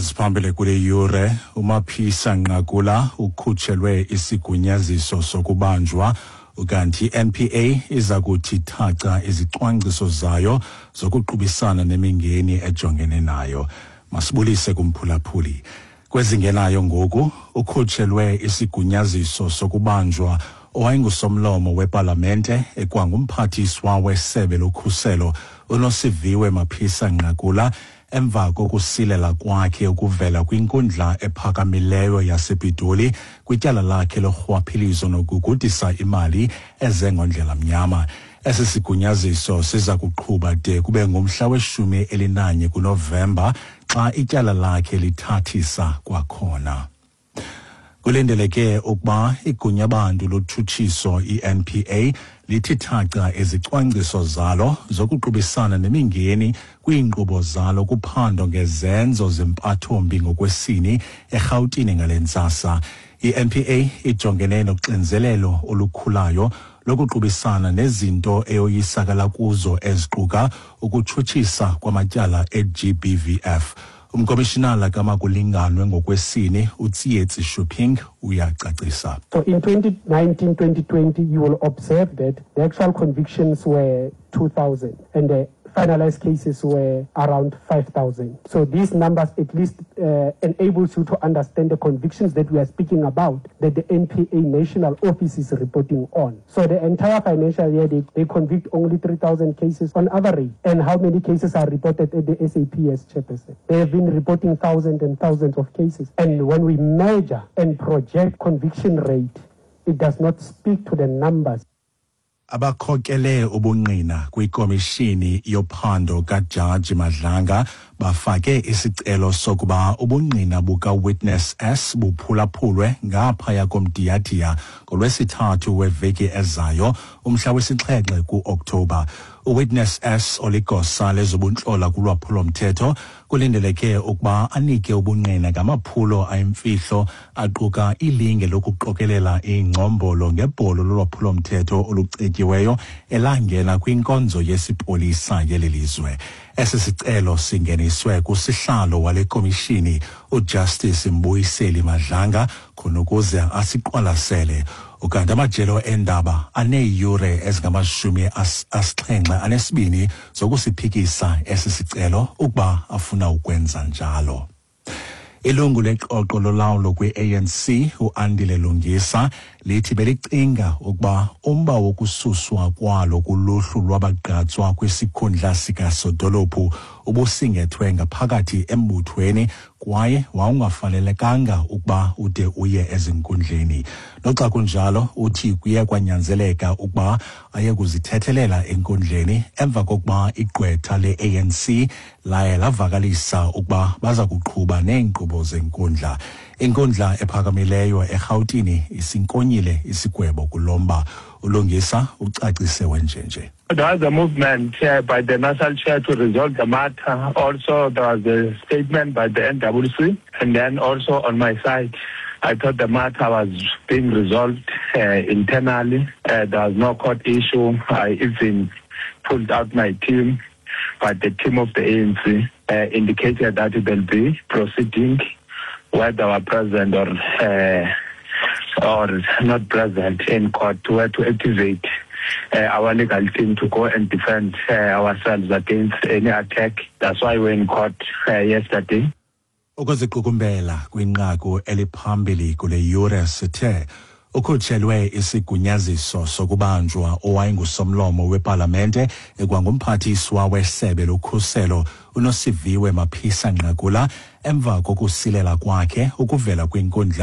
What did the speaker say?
Kweziphambili kule yure, uMaphisa Nqakula ukhutshelwe isigunyaziso sokubanjwa, ukanti i-NPA iza kuthi thaca izicwangciso zayo zokuqubisana nemingeni ejongene nayo. Masibulise kumphulaphuli. Kwezingenayo ngoku, ukhutshelwe isigunyaziso sokubanjwa owayengusomlomo wepalamente ekwangumphathiswa wesebe lokhuselo uNosiviwe Mapisa Nqakula emva kokusilela kwakhe ukuvela kwinkundla ephakamileyo yasePitoli kwityala lakhe lorhwaphilizo nokugudisa imali eze ngondlela mnyama. Esi sigunyaziso siza kuqhuba de kube ngumhla we-11 kuNovemba xa ityala lakhe lithathisa kwakhona. Kulindeleke ukuba igunyabantu lotshutshiso i-NPA lithi thaca izicwangciso zalo zokuqubisana nemingeni kwiinkqubo zalo kuphando ngezenzo zempathombi ngokwesini eRhawutini ngale ntsasa. I-NPA ijongene noxinzelelo olukhulayo lokuqubisana nezinto eyoyisakala kuzo eziquka ukutshutshisa kwamatyala e-GBVF. Umkomishinala kamakulinganwe ngokwesini uTsietsi Shuping uyacacisa. So in 2019-2020, you will observe that the actual convictions were 2,000 and the finalized cases were around 5,000. So these numbers at least enables you to understand the convictions that we are speaking about, that the NPA National Office is reporting on. So the entire financial year, they convict only 3,000 cases on average. And how many cases are reported at the SAPS, Chairperson? They have been reporting thousands and thousands of cases. And when we measure and project conviction rate, it does not speak to the numbers. Abakhokele ubungqina kwikomishini yophando kaJaji Madlanga bafake isicelo sokuba ubungqina buka-Witness S buphulaphulwe ngaphaya komdiyadiya ngolwesithathu weveki ezayo, umhla wesi-7 ku-Oktoba. UWitness S, oligosa lezobuntlola kulwaphulomthetho, kulindeleke ukuba anike ubungqina ngamaphulo ayimfihlo aquka ilinge lokuqokelela iingcombolo ngebholo lolwaphulomthetho olucetyiweyo elangena kwinkonzo yesipolisa yeli lizwe. Esi sicelo singeniswe kusihlalo wale komishini uJustice Mbuyiseli Madlanga khona ukuze asiqwalasele. Ukanti amajelo endaba aneeyure ezingama-72 zokusiphikisa esi sicelo ukuba afuna ukwenza njalo. Ilungu leqoqo lolawulo kwi-ANC uAndile Lungisa lithi belicinga ukuba umba wokususwa kwalo kuluhlu lwabagqatswa kwisikhundla sikasodolophu ubusingethwe ngaphakathi embuthweni kwaye wawungafanelekanga ukuba ude uye ezinkundleni. Noxa kunjalo, uthi kuye kwanyanzeleka ukuba aye kuzithethelela enkundleni emva kokuba igqwetha le-ANC laye lavakalisa ukuba baza kuqhuba neenkqubo zenkundla. Inkundla ephakamileyo eRhawutini isinkonyile isigwebo kulomba. ULungisa ucacise wenjenje. There was a movement by the national chair to resolve the matter. Also, there was a statement by the NWC. And then also on my side, I thought the matter was being resolved internally. There was no court issue. I even pulled out my team, but the team of the ANC indicated that it will be proceeding whether we're present or not present in court, where to activate our legal team to go and defend ourselves against any attack. That's why we're in court yesterday. Ukuziqukumbela kwinqaku eliphambili kule yure, sithe ukhutshelwe isigunyaziso sokubanjwa owayengusomlomo wepalamente ekwangumphathiswa wesebe lokhuselo uNosiviwe Mapisa Nqakula emva kokusilela kwakhe ukuvela kwinkundla.